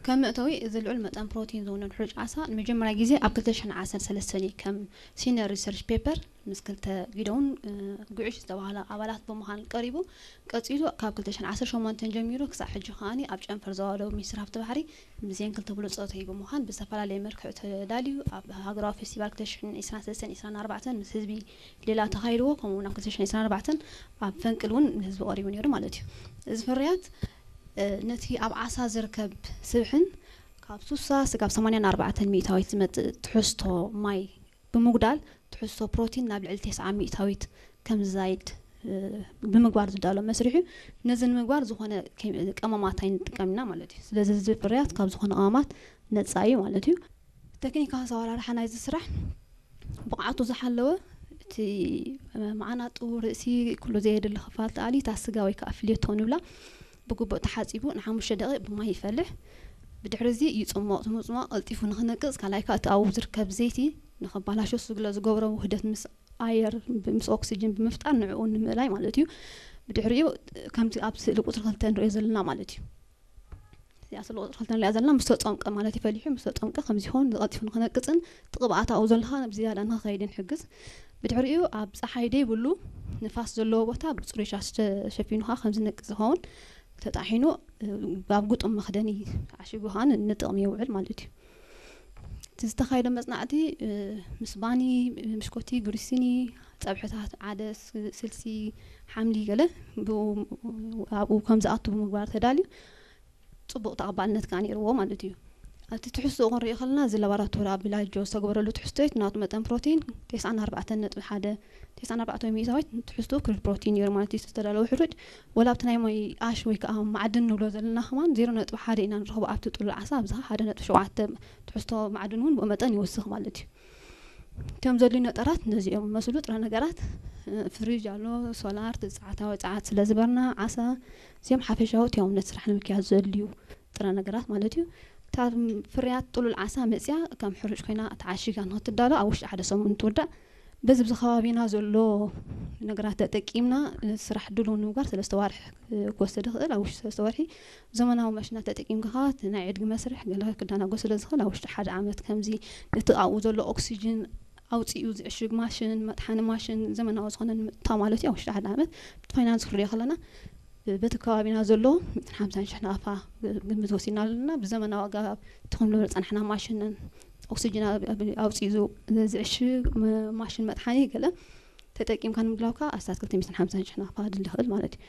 ከም መእተዊ፣ እዚ ልዑል መጠን ፕሮቲን ዝውንን ሕሩጭ ዓሳ ንመጀመርያ ግዜ ኣብ ክልተ ሽሕን ዓሰርተ ሰለስተን እዩ ከም ሲኒየር ሪሰርች ፔፐር ምስ ክልተ ጊደውን፣ እ፣ ጉዕሽ ዝተባህላ ኣባላት ብምዃን ቀሪቡ። ቀጺሉ ካብ ክልተ ሽሕን ዓሰርተ ሸሞንተን ጀሚሩ ክሳዕ ሕጂ ከኣ ኣብ ጨንፈር ዞባ ደቡብ ሚኒስትሪ ሃብቲ ባሕሪ ምስዘን ክልተ ብሉጻት ብምዃን ብዝተፈላለየ መልክዕ ተዳልዩ ኣብ ሃገራዊ ፌስቲቫል ክልተ ሽሕን ዕስራን ሰለስተን ዕስራን ኣርባዕተን ምስ ህዝቢ ሌላ ተኻይድዎ፣ ከምኡ እውን ኣብ ክልተ ሽሕን ዕስራን ኣርባዕተን ኣብ ፈንቅል እውን ንህዝቢ ቀሪቡ ነይሩ ማለት እዩ። እዚ ፍርያት፣ እ፣ ነቲ ኣብ ዓሳ ዝርከብ ስብሕን ካብ ሱሳ ስጋብ ሰማንያን ኣርባዕተን ሚእታዊት ዝመጽእ ትሕዝቶ ማይ ብምጉዳል ትሕዝቶ ፕሮቲን ናብ ልዕሊ ተስዓ ሚእታዊት ከም ዝዛይድ፣ እ፣ ብምግባር ዝዳሎ መስርሕ እዩ። ነዚ ንምግባር ዝኾነ ኬሚ-፣ ቀመማት ኣይንጥቀም ኢና ማለት እዩ። ስለዚ እዚ ፍርያት ካብ ዝኾነ ቀመማት ነጻ እዩ ማለት እዩ። ቴክኒካዊ ኣሰራርሓ ናይዚ ስራሕ ብቕዓቱ ዝሓለወ፣ እቲ መዓናጡ፣ ርእሲ፣ ኩሉ ዘየድሊ ክፋል ተኣልዩ፣ እታ ስጋ ወይ ከዓ ፍሌቶ ንብላ ብግቡእ ተሓጺቡ ንሓሙሽተ ደቂቕ ብማይ ይፈልሕ። ብድሕሪ እዚ ይጽሞቕ። እቲ ምጽማቕ ቀልጢፉ ንኽነቅጽ፣ ካልኣይ ከዓ እቲ ኣብኡ ዝርከብ ዘይቲ ንኽበላሾ ስለ ዝገብሮ ውህደት ምስ ኣየር ብ-፣ ምስ ኦክሲጅን ብምፍጣር ንዕኡ ንምእላይ ማለት እዩ። ብድሕሪኡ ከምቲ ኣብ ስእሊ ቁጽሪ ክልተ ንሪኦ ዘለና ማለት እዩ። እዚኣ ስእሊ ቁጽሪ ክልተ ንሪኣ ዘለና ምስ ተጸምቀ ማለት እዩ። ፈሊሑ ምስ ተጸምቀ ከምዚ ይኸውን፣ ቀልጢፉ ንኽነቅጽን እቲ ቅብኣት ኣብኡ ዘሎ ከዓ ብዝያዳ ንኽኸይድን ይሕግዝ። ብድሕሪኡ ኣብ ጸሓይ ደይብሉ ንፋስ ዘለዎ ቦታ ብጽሩይ ሻሽ ተሸፊኑ ከዓ ከም ዝነቅጽ ዝኸውን ተጣሒኑ፣ እ፣ ኣብ ግጡም መኽደኒ ተዓሺጉ ከዓ ን-፣ ንጥቕሚ ይውዕል ማለት እዩ። እቲ ዝተኻየደ መጽናዕቲ፣ እ፣ ምስ ባኒ፣ ምሽኮቲ፣ ግሪሲኒ፣ ጸብሕታት፣ ዓደስ፣ ስልሲ፣ ሓምሊ ገለ ብኡ፣ ኣብኡ ከም ዝኣቱ ብምግባር ተዳልዩ ጽቡቕ ተቐባልነት ከኣ ነይርዎ ማለት እዩ። ኣብቲ ትሕዝቶኡ ክንሪኦ ከለና፣ እዚ ላቦራቶሪ ኣብ ቪላጆ ዝተገበረሉ ትሕዝቶ እዩ። ናቱ መጠን ፕሮቲን ተስዓን ኣርባዕተን ነጥቢ ሓደ፣ ተስዓን ኣርባዕተን ሚእታዊት ትሕዝቶ ክሪል ፕሮቲን ነይሩ ማለት እዩ። ዝተዳለወ ሕሩጭ፣ ወላ ኣብቲ ናይ ማይ ኣሽ ወይ ከዓ ማዕድን ንብሎ ዘለና ከማን ዜሮ ነጥቢ ሓደ ኢና ንረኽቦ ኣብቲ ጥሉል ዓሳ፣ ኣብዚ ሓደ ነጥቢ ሸውዓተ ትሕዝቶ ማዕድን እውን ብኡ መጠን ይወስኽ ማለት እዩ። እቶም ዘድልዩ ነጠራት ነዚኦም መስሉ ጥረ ነገራት፣ እ፣ ፍሪጅ ኣሎ፣ ሶላር፣ ጸዓታዊ ጸዓት ስለ ዝበርና፣ ዓሳ፣ እዚኦም ሓፈሻዊ እቲኦም ነቲ ስራሕ ንምክያድ ዘድልዩ ጥረ ነገራት ማለት እዩ። እታ ፍርያት ጥሉል ዓሳ መጽያ ከም ሕሩጭ ኮይና ተዓሺጋ ንኽትዳሎ ኣብ ውሽጢ ሓደ ሰሙን ትውዳእ። በዚ ብዚ ከባቢና ዘሎ ነገራት ተጠቂምና፣ እ፣ ስራሕ ድሉው ንምግባር ሰለስተ ዋርሒ፣ እ፣ ክወስድ ይኽእል። ኣብ ውሽጢ ሰለስተ ወርሒ ዘመናዊ ማሽናት ተጠቂምካ እቲ ናይ ዕድጊ መስርሕ ገለ ክደናጎ ስለ ዝኽእል፣ ኣብ ውሽጢ ሓደ ዓመት ከምዚ ነቲ ኣብኡ ዘሎ ኦክሲጅን ኣውጺኡ ዝዕሽግ ማሽን፣ መጥሓኒ ማሽን ዘመናዊ ዝኾነ ንምእታው ማለት እዩ። ኣብ ውሽጢ ሓደ ዓመት፣ እቲ ፋይናንስ ክንሪኦ ከለና፣ በቲ ከባቢና ዘሎ ሚእትን ሓምሳን ሽሕ ናቕፋ ግምት ወሲድና ኣለና። ብዘመናዊ ኣገባብ እቲ ክንብሎ ዝጸናሕና ማሽንን ኦክሲጅን ኣብ-፣ ኣብ-፣ ኣውጺኡ ዝ-፣ ዝዕሽግ መ-፣ ማሽን መጥሓኒ ገለ ተጠቂምካ ንምድላው ከኣ ኣስታት ክልተ ሚእትን ሓምሳን ሽሕ ናቕፋ ከድሊ ይኽእል ማለት እዩ።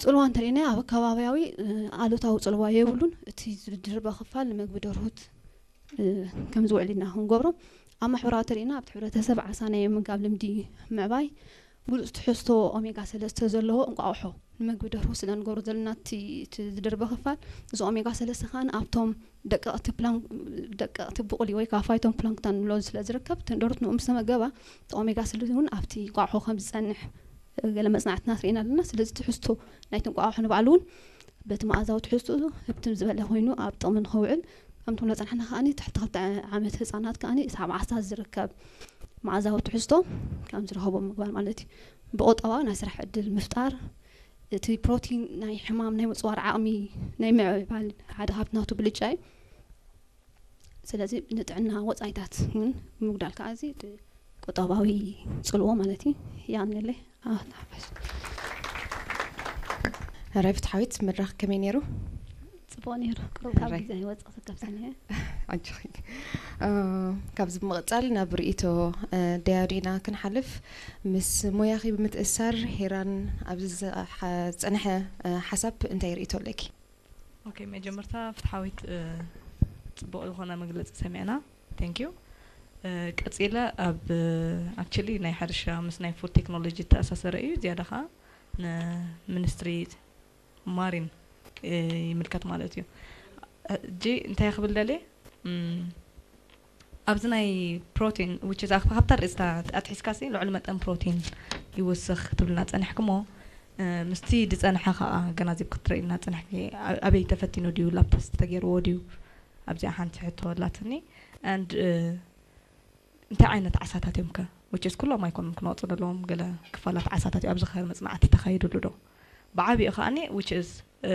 ጽልዋ እንተሪእና ኣብ ከባቢያዊ፣ እ፣ ኣሉታዊ ጽልዋ የብሉን። እቲ ዝድርበ ክፋል ንመግቢ ደርሁት፣ እ፣ ከም ዝውዕል ኢና ክንገብሮ። ኣብ ማሕበራዊ ተሪእና ኣብቲ ሕብረተሰብ ዓሳ ናይ ምምጋብ ልምዲ ምዕባይ፣ ብሉጽ ትሕዝቶ ኦሜጋ ሰለስተ ዘለዎ እንቋቑሖ ንምግቢ ደርሁ ስለ ንገብሮ ዘለና እቲ፣ እቲ ዝድርበ ክፋል፣ እዚ ኦሜጋ ሰለስተ ከኣ ኣብቶም ደቀቕቲ ፕላን-፣ ደቀቕቲ ብቑሊ ወይ ከዓ ፋይቶን ፕላንክተን ንብሎ ስለ ዝርከብ፣ እተን ደርሁት ንኡ ምስ ተመገባ፣ እቲ ኦሜጋ ስሪ እውን ኣብቲ እንቋቑሖ ከም ዝጸንሕ፣ እ፣ ገለ መጽናዕትታት ርኢና ኣለና። ስለዚ ትሕዝቶ ናይቲ እንቋቑሖ ንባዕሉ እውን በቲ መኣዛዊ ትሕዝትኡ ህብትም ዝበለ ኮይኑ ኣብ ጥቕሚ ንኸውዕል፣ ከምቲ ንብሎ ጸናሕና ከኣ ትሕቲ ክልተ ዓመት ህጻናት ከኣ ሰዓብ ዓሳ ዝርከብ መኣዛዊ ትሕዝቶ ከም ዝረኸቦ ምግባር ማለት እዩ። ብቑጠባዊ ናይ ስራሕ ዕድል ምፍጣር፣ እቲ ፕሮቲን ናይ ሕማም ናይ ምጽዋር ዓቕሚ ናይ ምዕባል ሓደ ካብቲ ናቱ ብልጫ እዩ። ስለዚ ንጥዕና ወጻኢታት እውን ምጉዳል ከኣ እዚ ቁጠባዊ ጽልዎ ማለት እዩ። የቐንየለይ። ኣዎ፣ ተሓፋሽ። ሕራይ ፍትሓዊት፣ መድረኽ ከመይ ነይሩ? ጽቡቕ ነይሩ። ቅሩብ ካብ ሕራይ። ግዜ ይወጽእ ክሰከፍ ሰኒሐ። ኣጆኺ። እ፣ ካብዚ ብምቕጻል ናብ ርእይቶ፣ እ፣ ደያኑ ኢና ክንሓልፍ። ምስ ሞያኺ ብምትእስሳር፣ ሄራን ኣብዚ ዝጸ-፣ ሓ-፣ ዝጸንሐ፣ እ፣ ሓሳብ እንታይ ርእይቶ ኣለኪ? ኦኬ፣ መጀመርታ ፍትሓዊት፣ እ፣ ጽቡቕ ዝኾነ መግለጺ ሰሚዕና። Thank you። እ፣ ቀጺለ ኣብ፣ እ፣ actually ናይ ሕርሻ ምስ ናይ ፉድ ቴክኖሎጂ ዝተኣሳሰረ እዩ። ዝያዳ ኸኣ ንሚኒስትሪ ማሪን፣ እ፣ ይምልከት ማለት እዩ። ሕጂ እንታይ ክብል ደልየ? እም፣ ኣብዚ ናይ ፕሮቲን፣ which is፣ ኣብ-፣ ካብታ ርእስታ ኣትሒዝካሲ ልዑል መጠን ፕሮቲን ይውስኽ ትብልና ጸኒሕክሞ፣ እ፣ ምስቲ ዝጸንሐ ከኣ ኣገናዚብ ክትርእይልና ጸኒሕኪ፣ ኣ-፣ ኣበይ ተፈቲኑ ድዩ? ላብ ተስት ተገይርዎ ድዩ? ኣብዚኣ ሓንቲ ሕቶ ኣላትኒ። And፣ እ፣ እንታይ ዓይነት ዓሳታት እዮም ከ? Which is ኩሎም ኣይኮኑን ክነወጽእ ዘለዎም፣ ገለ ክፋላት ዓሳታት እዩ ኣብዚ ኸ መጽናዕቲ ተኻይድሉ ዶ? ብዓቢኡ ከኣኒ፣ which is፣ እ፣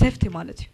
ሴፍቲ ማለት እዩ።